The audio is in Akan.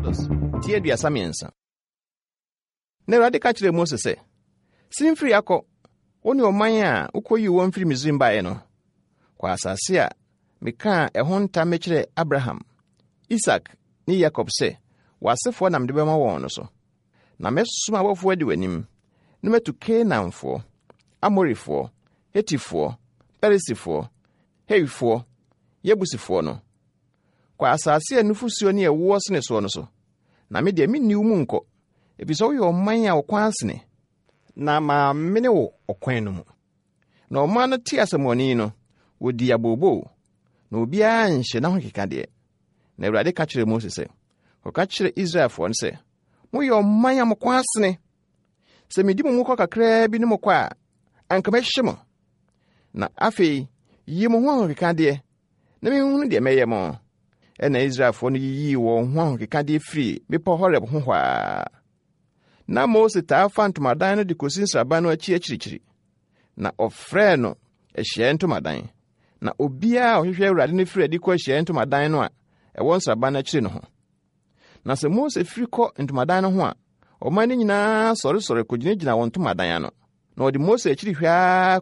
Exodus ti 33. Na Awurade ka kyerɛɛ Mose sɛ, Sen firi ha kɔ, wo ne ɔman a wukoyii wɔn firi Misraim baeɛ no, kɔ asase a mekaa ɛho ntam mekyerɛɛ Abraham, Isak ne Yakob sɛ, 'W'asefoɔ na mede bɛma wɔn' no so. Na mɛsoma abɔfoɔ adi w'anim, na matu Kanaanfoɔ, Amorifoɔ, Hetifoɔ, Perisifoɔ, Hewifoɔ, Yebusifoɔ no. Kɔ asase a nufosuo ne ɛwoɔ sene soɔ no so, na me deɛ menni wo mu nkɔ, efisɛ woyɛ ɔman a wo kɔn asene, na mammene wo ɔkwan no mu. Na ɔman no tee asɛmmɔne yi no, wɔdii abooboo, na obiara anhyɛ n'ahokekadeɛ. Na Awurade ka kyerɛɛ Mose sɛ, Kɔka kyerɛ Israelfoɔ no sɛ, 'Moyɛ ɔman a mo kɔn asene. Sɛ medi mo mu kɔ kakraa bi ne mo kɔ a, anka mɛhye mo. Na afei yi mo ho ahokekadeɛ na menhunu deɛ mɛyɛ mo. Ɛnna Israelfoɔ no yiyii wɔn ho ahokekadeɛ firii Bepɔ Horeb ho hɔ ara. Na Mose taa fa ntomadan no de kɔsi nsraban no akyi akyirikyiri, na ɔfrɛɛ no Ahyiaeɛ Ntomadan. Na obiara a ɔhwehwɛ Awurade no firi adi kɔ Ahyiaeɛ Ntomadan no a ɛwɔ nsraban no akyiri no ho. Na sɛ Mose firi kɔ ntomadan no ho a, ɔman no nyinaa sɔresɔre kɔgyinagyina wɔn ntomadan ano. Na wɔde Mose akyiri hwɛ ara.